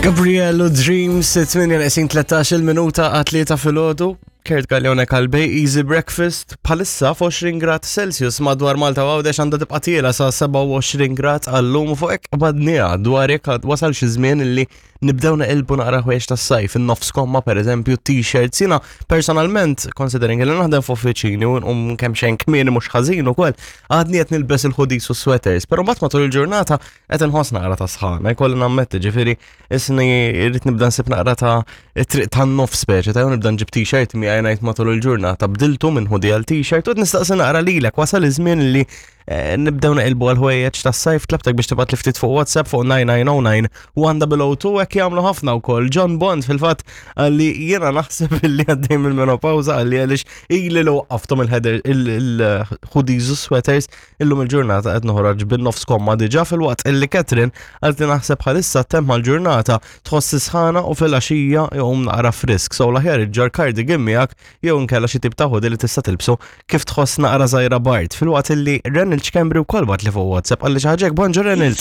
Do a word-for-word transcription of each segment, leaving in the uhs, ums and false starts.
Gabriello Dreams, tmienja tlettax-il minuta għat-tlieta filgħodu. Kurt Gallione Kalbej, Easy Breakfast, bħalissa f'għoxrin grad Celsius madwar Malta u Għawdex, għandha tibqa' tiela' sa sebgħa u għoxrin grad għallum, u fuq hekk badnija dwar jekk wasal xi żmien illi nibdew naqilbu naqra ħwejjeġ tas-sajf, in-nofs komma per eżempju, t-shirts. Jiena personalment, considering li naħdem f'uffiċini u nqum kemm xejn kmieni mhux ħażin ukoll, għadni qed nilbes il-hoodies u sweaters, però mbagħad matul il-ġurnata qed inħoss naqra ta' sħana, jkolli nammetti, ġifieri isni irrid nibda nsib naqra ta' triq tan-nofs speċi, ta' nibda nġib t-shirt miegħi ngħid matul il-ġurnata bdiltu minn hoodie għal t-shirt. U nistaqsi naqra lilek, wasal iż-żmien li eh, nibdew naqilbu għal ħwejjeġ tas-sajf? Tlabtek biex tibgħat li ftit fuq WhatsApp fuq nine nine zero nine one zero zero two, hekk jagħmlu ħafna wkoll. John Bond fil-fatt għalli jiena naħseb illi għaddej mill-menopawża, għalli għaliex ili li waqqaftom il-header il-hoodies u sweaters, illum il-ġurnata qed noħroġ bin-nofs komma diġà, filwaqt illi Catherine għalti naħseb bħalissa temma l-ġurnata tħoss sħana u fil-għaxija jqum naqra frisk. So l-aħjar iġġorr cardigan miegħek jew inkella xi tip ta' hoodie li tista' tilbsu kif tħoss naqra żgħira bard. Filwaqt illi Renald Schembri wkoll bagħat li fuq WhatsApp, għalli xi ħaġa. Bonġu, Renald.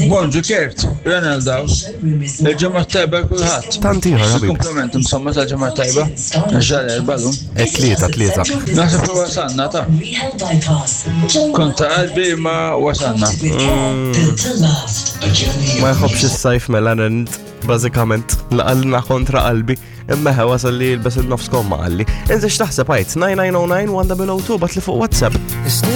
Bonġu Kurt, Renald daw. Il-ġimgħa tajba kulħadd. Tant ieħor, ħabib. Kompliment insomma tal-ġimgħa tajba. Ġal erba' E tlieta, tlieta. Naħseb li wasalna ta' kont ta' qalbi ma wasalna. Ma jħobbx is-sajf mela Renald, bażikament laqalna kontra qalbi. Imma ħe wasal li jilbes il-nofs komma, qalli. Inti x'taħseb, għajt nine nine zero nine one zero zero two, bagħatli fuq WhatsApp.